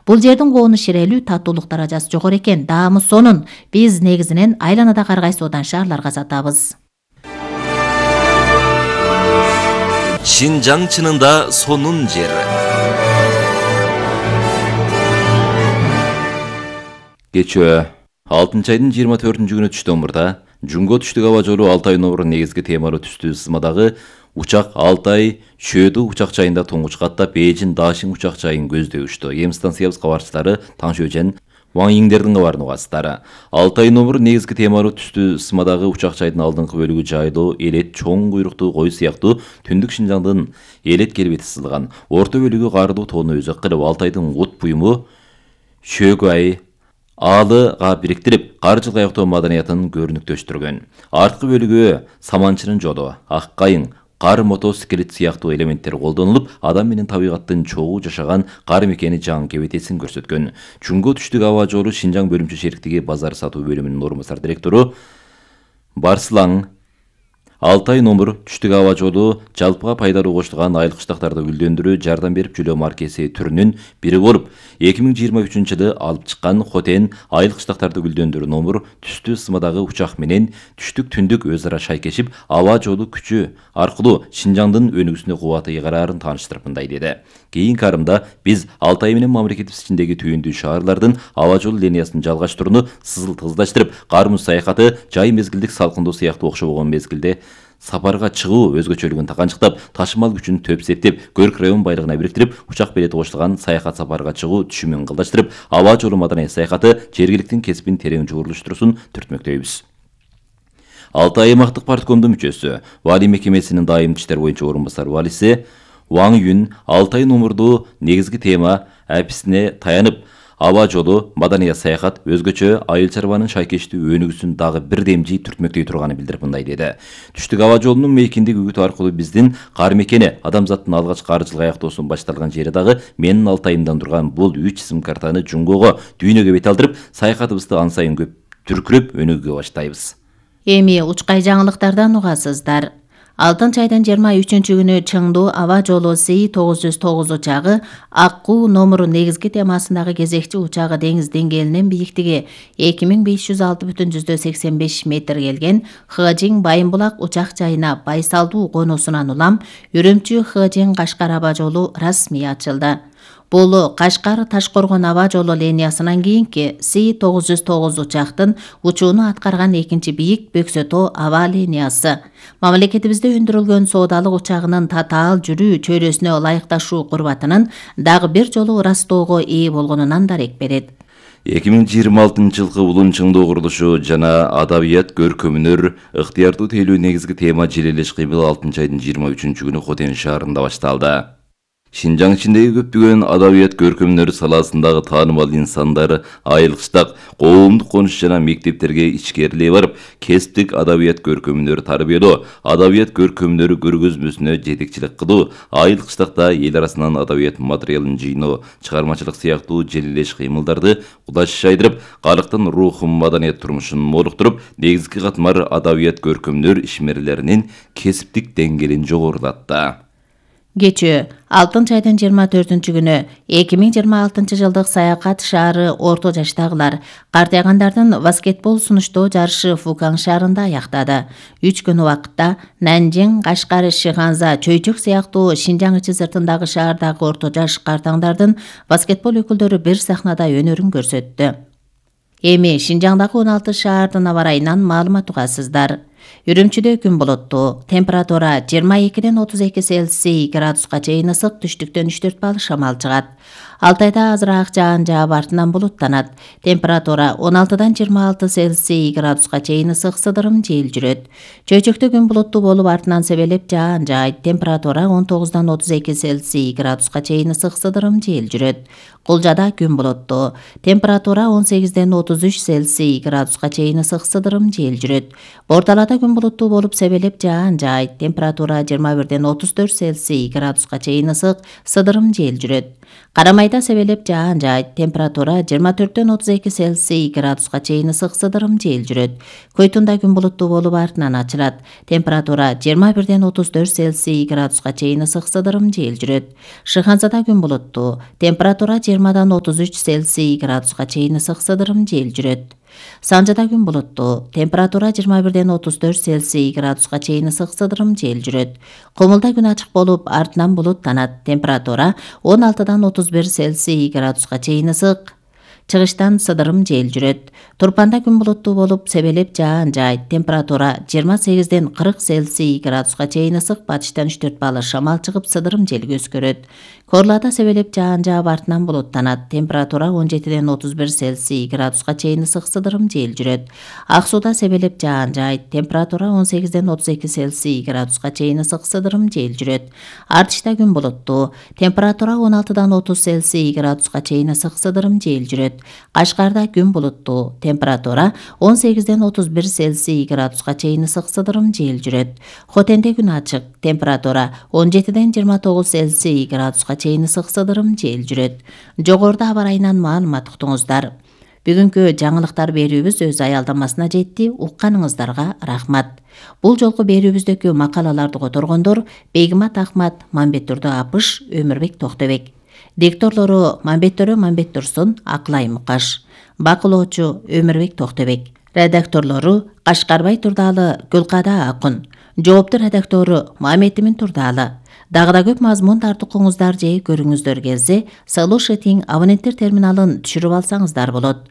Бул жердин коонуш ширелүү, татуулук даражасы жогору экен. Даамы сонун биз негизинен айланадагы ар кайсы одан шаарларга сатабыз. Шинжаң чынында сонун жер. Кечөө 6-айдын 24-күнү түштөн мурда Жунго түштүк аба жолу Алтай номер негизги темалуу түстүү сызмадагы учак Алтай Чөдү учак жайында туңгуч каттап Бейжин Дашин учак жайын көздөй учту. Эми станциябыз кабарчылары Таңшөжен Ван Йиңдердин кабарын угасыздар. Алтай номер негизги темалуу түстүү сызмадагы учак жайдын алдыңкы бөлүгү жайлуу, элет, чоң куйруктуу кой сыяктуу түндүк Шинжаңдын элет келбети сызылган. Орто бөлүгү каардуу тоону өзөк кылып, Алтайдын от буюму Шөгай Аалыга бириктирип, кар жылгаяктоо маданиятын көрүнүктөштүргөн. Арткы бөлүгү саманчынын жолу, ак кайың, кар мотоциклет сыяктуу элементтер колдонулуп, адам менен табигаттын чогуу жашаган кар мекени жаңы кебетесин көрсөткөн. Жунго түштүк аба жолу Шинжаң бөлүмчө шериктиги базар сатуу бөлүмүнүн орун басар директору Барслаң Алтай номер түштүк аба жолу жалпыга пайдалуу коштулган айыл кыштактарды гүлдөндүрүү жардам берип жүрүү маркеси түрүнүн бири болуп, 2023-жылы алып чыккан Хотен айыл кыштактарды гүлдөндүрүү номер түстүү сызмадагы учак менен түштүк түндүк өз ара шайкешип, аба жолу күчү аркылуу Шинжаңдын өнүгүүсүнө кубаты ыйгараарын тааныштырып мындай деди. Кийинки арымда биз Алтай менен мамлекетибиз ичиндеги түйүндүү шаарлардын аба жол линиясын жалгаштырууну сызыл-тыгыздаштырып, кар муз саякаты, жай мезгилдик салкындоо сыяктуу окшобогон мезгилде сапарга чыгуу өзгөчөлүгүн таканчыктап, ташымал күчүн төп септеп, Көрк район байлыгына бириктирип, учак билети коштулган саякат сапарга чыгуу түшүмүн кылдаштырып, аба жолу маданий саякаты жергиликтин кесибин терең жуурулуштуруусун түртмөктөйбүз. Алтай аймактык парткомдун мүчөсү, Вали мекемесинин дайымдуу иштер боюнча орун басар валиси Ван Юн Алтай номердуу негизги тема аписине таянып, аба жолу, маданий саякат өзгөчө айыл чарбанын шайкештүү өнүгүүсүн дагы бир демжи түртмөктөй турганын билдирип мындай деди. Түштүк аба жолунун мейкиндик үгүтү аркылуу биздин кар мекени, адамзаттын алгач кар жылгаяктоосун башталган жери дагы менин Алтайымдан турган бул 3 сим картаны Жунгого дүйнөгө бет алдырып, саякатыбызды ан сайын көп түркүрөп өнүгүүгө баштайбыз. Эми учкай жаңылыктардан угасыздар. 6-айдын 23-күнү Чыңдуу аба жолу Си-909 учагы Аккуу номеру негизги темасындагы кезекчи учагы деңиз деңгээлинен бийиктиги 2506,85 метр келген Хыжин Байымбулак учак жайына байсалдуу конуусунан улам Үрүмчү Хыжин Кашкар аба жолу расмий ачылды. Бул Кашкар Ташкоргон аба жолу линиясынан кийинки Си-909 учактын учууну аткарган экинчи бийик Бөксөтөө аба линиясы. Мамлекетибизде өндүрүлгөн соодалык учагынын татаал жүрүү чөйрөсүнө ылайыкташуу курбатынын дагы бир жолу ырастоого ээ болгонунан дарек берет. 2026-жылкы улун чыңдоо курулушу жана адабият көркөмүнөр ыктыярдуу тейлөө негизги тема желелеш кыймыл 6-айдын 23-күнү Хотен шаарында башталды. Шинжаң ичиндеги көптөгөн адабият көркөмдөр саласындагы таанымал инсандар айыл кыштак, коомдук конуш жана мектептерге ичкерилей барып, кесиптик адабият көркөмдөр тарбиялоо, адабият көркөмдөрү көргөзмөсүнө жетекчилик кылуу, айыл кыштакта эл арасынан адабият материалын жыйноо, чыгармачылык сыяктуу желелеш кыймылдарды кудаш жайдырып, калктын рухун, маданият турмушун молуктуруп, негизги катмар адабият көркөмдөр ишмерлеринин кесиптик деңгээлин жогорулатты. Кечөө 6-айдын 24-күнү 2026 жылдык саякат шаары орто жаштагылар картайгандардын баскетбол сунуштоо жарышы Фукан шаарында аяктады. 3 күн убакытта Нанжин, Кашкар, Шиханза, Чөйчөк сыяктуу Шинжаң ичи сыртындагы шаардагы орто жаш картаңдардын баскетбол өкүлдөрү бир сахнада өнөрүн көрсөттү. Эми Шинжаңдагы 16 шаардын аба ырайынан маалымат угасыздар. Үрүмчүдө күн болоттуу. Температура 22-ден 32 Цельсий градуска чейин ысык, түштүктөн 3-4 балл шамал чыгат. Алтайда азыраак жаан жаап артынан булуттанат. Температура 16-дан 26 Цельсий градуска чейин ысык, сыдырым жел жүрөт. Чөйчөктө күн булуттуу болуп артынан себелеп жаан жаайт. Температура 19-дан 32 Цельсий градуска чейин ысык, сыдырым жел жүрөт. Кулжада күн булуттуу. Температура 18-ден 33 Цельсий градуска чейин ысык, сыдырым жел жүрөт. Борталада күн булуттуу болуп себелеп жаан жаайт. Температура 21-ден 34 Цельсий градуска чейин ысык, сыдырым жел жүрөт. Карамай майда себелеп жаан жаайт. Температура 24-32 Цельсий градуска чейин ысык сыдырым жел жүрөт. Көйтүндө күн булуттуу болуп артынан ачылат. Температура 21-34 Цельсий градуска чейин ысык сыдырым жел жүрөт. Шыханзада күн булуттуу. Температура 20-33 Цельсий градуска чейин ысык сыдырым жел жүрөт. Санжада күн булуттуу. Температура 21-34 Цельсий градуска чейин ысык сыдырым жел жүрөт. Комулда күн ачык болуп, артынан булуттанат. Температура 16-31 Цельсий градуска чейин ысык. Чыгыштан сыдырым жел жүрөт. Турпанда күн булуттуу болуп, себелеп жаан жаайт. Температура 28-40 Цельсий градуска чейин ысык. Батыштан 3-4 балы шамал чыгып, сыдырым жел көскөрөт. Корлада себелеп жаан жаап, артынан булуттанат. Температура 17-31 Цельсий градуска чейин ысык, сыдырым жел жүрөт. Ак сууда себелеп жаан жаайт. Температура 18-32 Цельсий градуска чейин ысык, сыдырым жел жүрөт. Артышта күн булуттуу. Температура 16-30 Цельсий градуска чейин ысык, сыдырым жел жүрөт. Кашкарда күн булуттуу. Температура 18-31 Цельсий градуска чейин ысык, сыдырым жел жүрөт. Хотенде күн ачык. Температура 17-29 Цельсий градуска чейин ысык, сыдырым жел жүрөт. Жогоруда аба ырайынан маалымат уктуңуздар. Бүгүнкү жаңылыктар берүүбүз өз аялдамасына жетти. Укканыңыздарга рахмат. Бул жолку берүүбүздөгү макалаларды которгондор Бегимат Ахмат, Мамбеттөрдү Апыш, Өмүрбек Токтобек. Дикторлору Мамбеттөрү Мамбет Турсун, Аклай Мукаш. Бакылоочу Өмүрбек Токтобек. Редакторлору Кашкарбай Турдалы, Гүлкада Акун. Жоопту редактору Маметтимин Турдалы. Дагы да көп мазмун тартукуңуздар же көрүүңүздөр келсе, Solution абоненттер терминалын түшүрүп алсаңыздар болот.